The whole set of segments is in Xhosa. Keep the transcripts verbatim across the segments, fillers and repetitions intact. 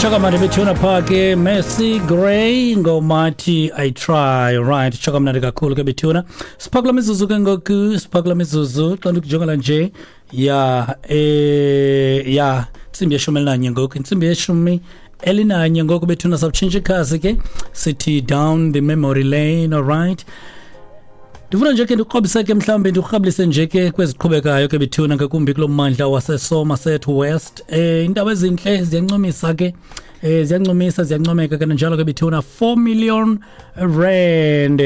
Chokamnandi bethuna phaa ke, Mercy Gray ngomathi "I Try". Right, chokamnandi kakhulu ke bethuna. Sipha kula mizuzu ke ngoku, sipha kula mizuzu xa ndikujongela nje ya eh ya intsimbi yeshumi elinanye ngoku, intsimbi yeshumi elinanye ngoku bethuna. Sawutshintsha ikhasi ke, sithi down the memory lane. All right, ndifuna nje ke ndikrobise ke, mhlawumbi ndikurhabulise nje ke kweziqhubekayo ke bethuna, ngakumbi kulo mmandla waseSomerset West. eh iindaba ezintle ziyancomisa ke, eh ziyancomisa, ziyancomeka ke njalo ke bethuna. four million rand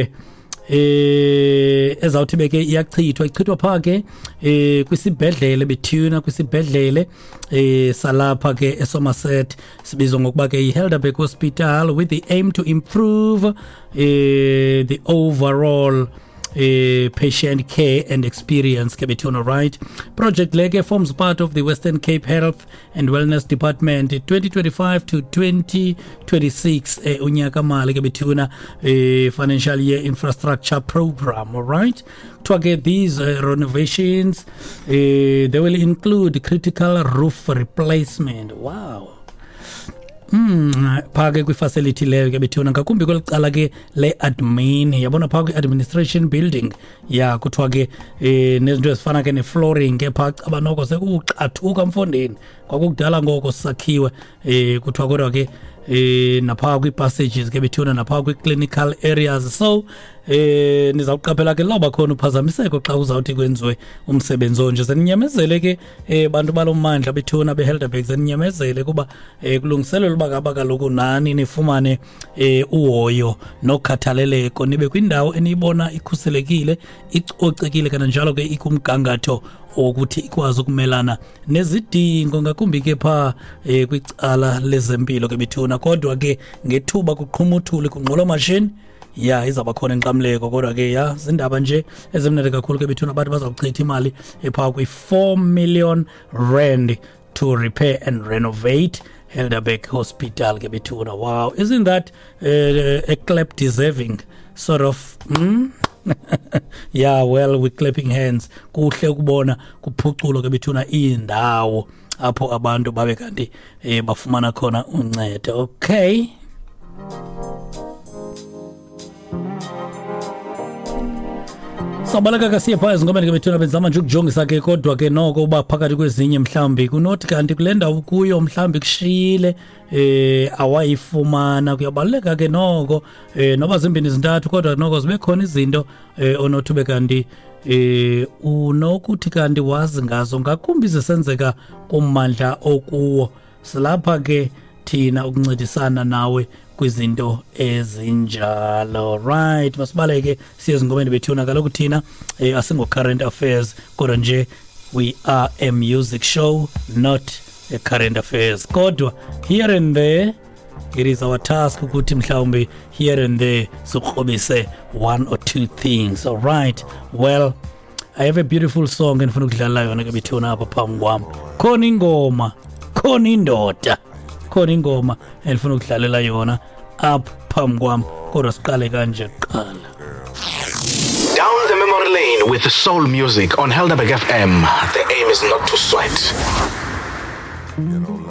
eh ezawuthi beke iyachithwa, ichithwa phaa ke eh kwisibhedlele bethuna, kwisibhedlele eh salapha ke eSomerset, sibizwa ngokuba ke iHelderberg Hospital, with the aim to improve eh the overall eh, patient care and experience ke bethuna. Right, project le ke forms part of the Western Cape Health and Wellness Department twenty twenty-five to twenty twenty-six eh, unyaka mali ke bethuna, eh, financial year infrastructure program. All right, kuthiwa ke these uh, renovations, eh, they will include critical roof replacement. Wow. Mm, phaa ke kwifacility leyo ke bethuna, ngakumbi kweli cala ke le-admin, yabona, phaa kwi-administration building ya. Kuthiwa ke eh nezinto ezifana ke ne-flooring ke phaa, caba noko sekuxathuka mfondini, kwakukudala ngoko sisakhiwe. eh kuthiwa kodwa ke eh naphaa kwii-passages ke bethuna, naphaa kwi-clinical areas. So eh nizawuqaphela ke lawuba khona uphazamiseko xa uzawuthi kwenziwe umsebenzi onje. Zeninyamezele ke eh bantu balo mmandla bethuna, beHelderberg, zeninyamezele kuba eh kulungiselelwa uba ngaba kaloku nani nifumane eh uhoyo nokhathaleleko, nibe kwindawo eniyibona ikhuselekile, icocekile, kananjalo ke ikumgangatho wokuthi ikwazi ukumelana nezidingo, ngakumbi ke phaa eh kwicala lezempilo ke bethuna. Kodwa ke ngethuba kuqhuma uthuli, kungqolo mashini ya, izawuba khona inkxamleko. Kodwa ke ya, zindaba nje ezimnandi kakhulu ke bethuna. Abantu bazawuchitha imali ephaa kwi-four million rand to repair and renovate Helderberg Hospital ke bethuna. Wow, isn't that uh, a clap deserving sort of mm? Yeah, well, we clapping hands. Kuhle ukubona kuphuculo ke bethuna iindawo apho abantu babe kanti eh, bafumana khona uncedo. Okay, sabaleka ke siye phaa ezingomeni ke bethuna. Benzama nje ukujongisa ke, kodwa ke noko uba phakathi kwezinye mhlawumbi kunothi kanti kule ndawo kuyo mhlawumbi kushiyile eh awayifumana. Kuyabaluleka ke noko eh noba zimbini zintathu, kodwa noko zibe khona izinto eh onothi ube kanti eh unokuthi kanti wazi ngazo, ngakumbi zisenzeka kummandla okuwo. Silapha ke thina ukuncedisana nawe kwizinto ezinjalo. Right, masibaleke siye ezingomeni bethuna. Kaloku thina eh, asingo current affairs, kodwa nje we are a music show, not a current affairs. Kodwa here and there it is our task ukuthi mhlawumbi here and there sikrobise one or two things. All right, well, I have a beautiful song endifuna ukudlala yona ke bethuna. Apha phambi kwam khona ingoma, khona indoda, khona ingoma endifuna ukudlalela yona apha phambi kwam, kodwa siqale kanje kuqala. Down the memory lane with soul music on Helderberg F M. The aim is not to sweat. You know,